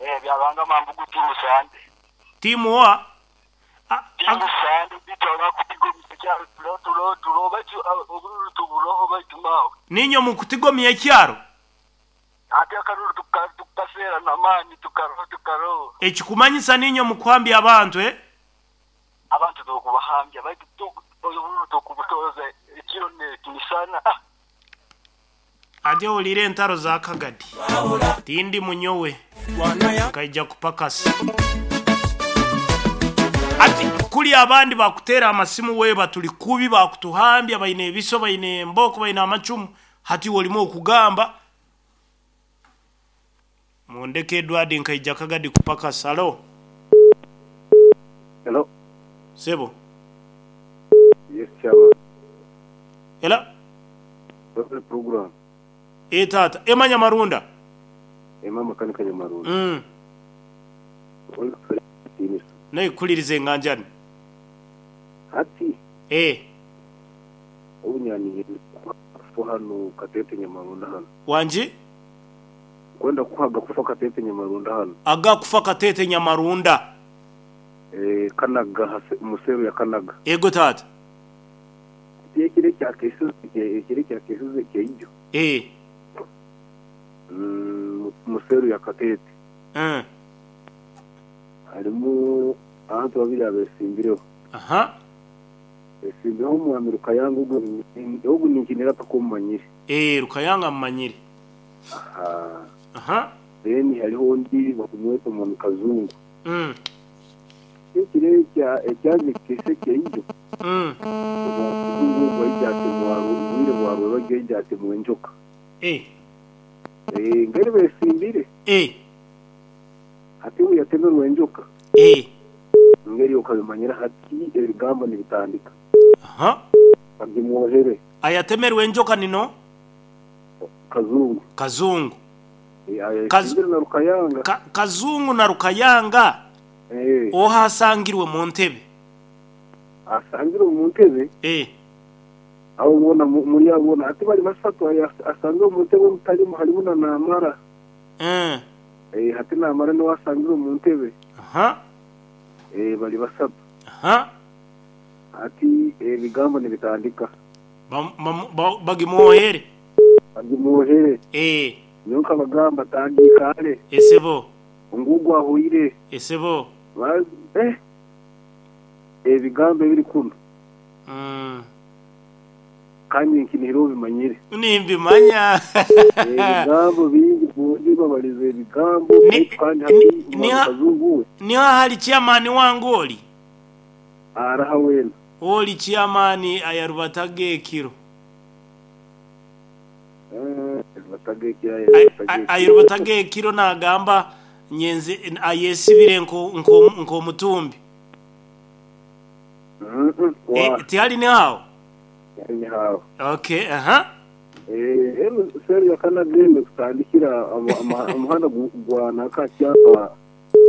Eh, Byaruhanga Mambugu tiimu Sande. Tiimu oha? Tiimu Sande beitu abakutigomya ekyaro turo turo turo baitu obururu tuburoho baitu maawe. Niinywe mukutigomya ekyaro? Hati akaruru tukaseera namaani tukaroho tukaroho. Ekikumanyisa niinywe mukuhambya abantu eh? Abantu tokubahambya baitu obururu tokubutooza ekiro nekimisana ah. Ati owulire entaro za Kagadi. Tindi munyowe, nkaija kupakasa. Ati kuri abandi bakuteera amasimu weeba turi kubi bakutuhambya baine ebiso baine embooko baine amacumu hati iwe orimu okugamba mundeke Edward nkaija Kagadi kupakasa. Halo. Hello. Sebo. Yes chairman. Hello. Webale program. Ee taata. Emma Nyamarunda. Emma Makanika Nyamarunda. Webale kutuhereza ekitiinisa. Naikuhuririza enganjani. Hati. Ee. Obu nyaniire kufa hanu Katete Nyamarunda hanu. Wangi? Nkwenda kukuha agakufa Katete Nyamarunda hanu. Agakufa Katete Nyamarunda. Ee, Kanaga, omu seero ya Kanaga. Eego taata. Hati ekiro ekya ekiro ekya kesize kyaijo. Ee. Omu seero ya Katete. Harimu abantu babiri abesimbireho. Aha. Besimbireho omwami Rukayanga ogu ninkinira paka omumanyire. Ee, Rukayanga mumanyire. Aha. Aha. Then hariho ondi bakumweta omwami Kazungu. Ekiro ekyaza ekikese kyaijo, omwami Kazungu ogu aija atemwa obwire bwa rwebagyo aija atemwa enjoka. Ee. Ee, ngeri besimbire. Ee. Hati obu yatemerwe enjoka. Ee. Ngeri okabimanyira hati ebigambo nibitandika. Aha. Bagimwohere. Ayatemerwe enjoka ni no? Kazungu. Kazungu. Ee, ayesimbire na Rukayanga. Kazungu na Rukayanga? Ee. Oha asangirwe mu ntebe? Asangirwe mu ntebe? Ee. Abo boona muri abo boona hati bari basatu asangirwe omu ntebe omutarimu harimu na Namara. Ee. Ee, hati Namara niwe asangirwe omu ntebe. Aha. Ee, bari basatu. Aha. Hati ebigambo nibitandika. Bagimwohere. Bagimwohere. Ee. Nyowe nkabagamba tandiika hare. Esebo. Ngu ogu ahweire. Esebo. Eh! Ebigambo ebiri kunu. Kandi nkinihira obimanyire. Nimbimanya. Ebigambo bingi bwongi babarize ebigambo baitu kandi hati omwami Kazungu we. Niho ahari chairman wange ori? Araha weena. Ori chairman ayarubataga ekiro. Ayarubataga ekiro nagamba nyenze ayesibire nk'omutumbi. Tihari niho aho? Tihari niho aho. Okay, aha. Seeri ya Kanaga eno kutandikira omuhanda gwa nanka Kyapa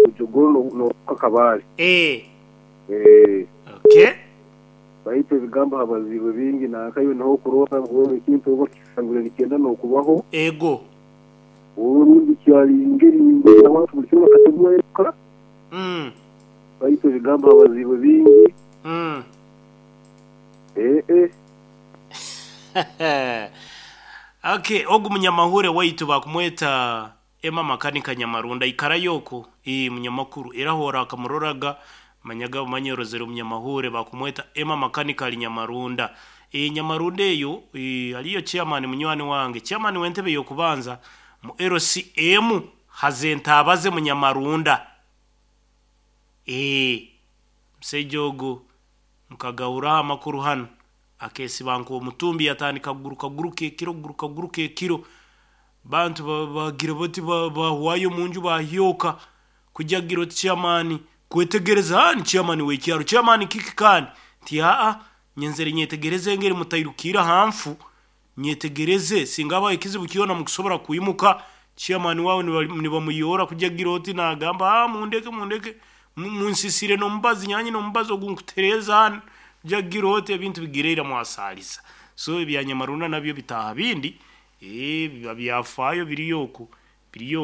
Bujogoro nokuhika Kabale. Okay. Baitu ebigambo habaziibwe bingi nanka iwe niho okurora ngu ekintu oba okisangire nikyenda nokubaho. Ego. Orundi kyari ngeri abantu buri kimwe bakatemwa Baitu ebigambo habaziibwe bingi. Ee. Okay, ogu munyamahure waitu bakumweta Emma Makanika Nyamarunda ikarayo oku ii munyamakuru era hora akamuroraga manyaga manyorozere omunyamahure bakumweta Emma Makanika ali Nyamarunda. Ee Nyamarunda eyo aliyo chairman munywani wange chairman w'entebe y'okubanza mu LCM Hazentabaze Munyamarunda. Ee musaija ogu mukagahuraho amakuru hanu akesiba nk'omutumbi yatandika kuguruka guruka ekiro guruka guruka ekiro bantu bagira bati bahwayo omunju bahyoka kuja kugira oti chairman kwetegereza ni chairman w'ekyaro chairman kiki kandi nti aa nyenzere nyetegereze engeri mutairukire aha nfu nyetegereze singa habaho ekizibu kyona mukusobora kwimuka chairman wawe nibamuyora kuja kugira oti nagamba aa mundeke mundeke munsisire n'omubazi nyanye n'omubazi ogu nkutereeza hanu kuja kugira oti ebintu bigireira mwasaliza so ebya Nyamarunda nabyo bitaaha bindi biba byafaayo biriyo oku biriyo.